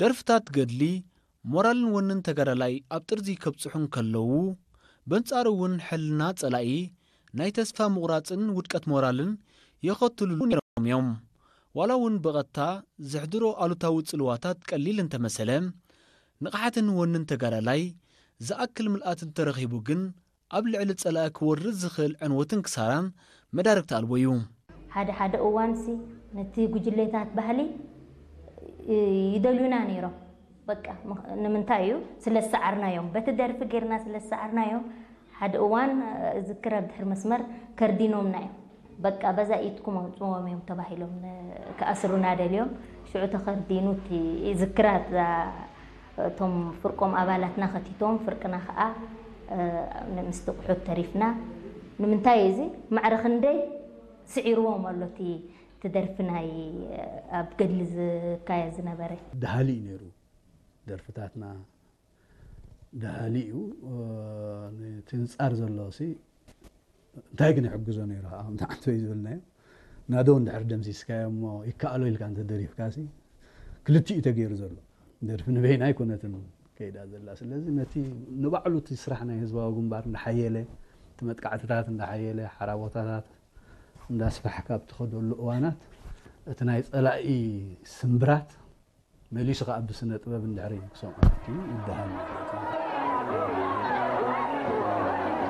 ደርፍታት ገድሊ ሞራልን ወንን ተጋዳላይ ኣብ ጥርዚ ከብጽሑ እንከለዉ፣ በንጻሩ እውን ሕልና ጸላኢ ናይ ተስፋ ምቑራጽን ውድቀት ሞራልን የኸትሉሉ ነይሮም እዮም። ዋላ እውን ብቐጥታ ዘሕድሮ ኣሉታዊ ጽልዋታት ቀሊል እንተመሰለ፣ ንቕሓትን ወንን ተጋዳላይ ዝኣክል ምልኣት እንተረኺቡ ግን ኣብ ልዕሊ ጸላኢ ክወርድ ዝኽእል ዕንወትን ክሳራን መዳርግቲ ኣልቦ እዩ። ሓደ ሓደ እዋንሲ ነቲ ጉጅሌታት ባህሊ ይደልዩና ነይሮም። በቃ ንምንታይ እዩ? ስለ ዝሰዓርናዮም፣ በቲ ደርፊ ጌርና ስለ ዝሰዓርናዮም። ሓደ እዋን እዝክር ኣብ ድሕሪ መስመር ከርዲኖምና እዮም። በቃ በዛ ኢድኩም ኣውፅዎም እዮም ተባሂሎም፣ ክኣስሩና ደልዮም። ሽዑ ተኸርዲኑ እቲ ዝክራት እቶም ፍርቆም ኣባላትና ከቲቶም፣ ፍርቅና ከዓ ምስ ጥቕሑት ተሪፍና። ንምንታይ እዚ ማዕረ ክንደይ ስዒርዎም ኣሎ እቲ ደርፊ ናይ ኣብ ገድሊ ዝካየድ ዝነበረ። ደሃሊ እዩ ነይሩ። ደርፍታትና ደሃሊ እዩ። እቲ ንፃር ዘሎ ሲ እንታይ ግን ይሕግዞ ነይሩ ከዓ ከምቲ ዓንተወይ ዝበልናዮ፣ ናዶ እንድሕር ደምሲስካዮ እሞ ይከኣሎ ኢልካ እንተደሪፍካ ሲ ክልቲኡ ተገይሩ ዘሎ። ደርፊ ንበይና ኣይኮነትን ከይዳ ዘላ። ስለዚ ነቲ ንባዕሉ እቲ ስራሕ ናይ ህዝባዊ ግንባር እንዳሓየለ፣ እቲ መጥቃዕትታት እንዳሓየለ፣ ሓራ ቦታታት እንዳስፋሕካ ኣብ ትኸደሉ እዋናት እቲ ናይ ፀላኢ ስምብራት መሊሱ ከዓ ብስነ ጥበብ እንድሕሪ ክሰምዖ ይበሃል ማለት እዩ።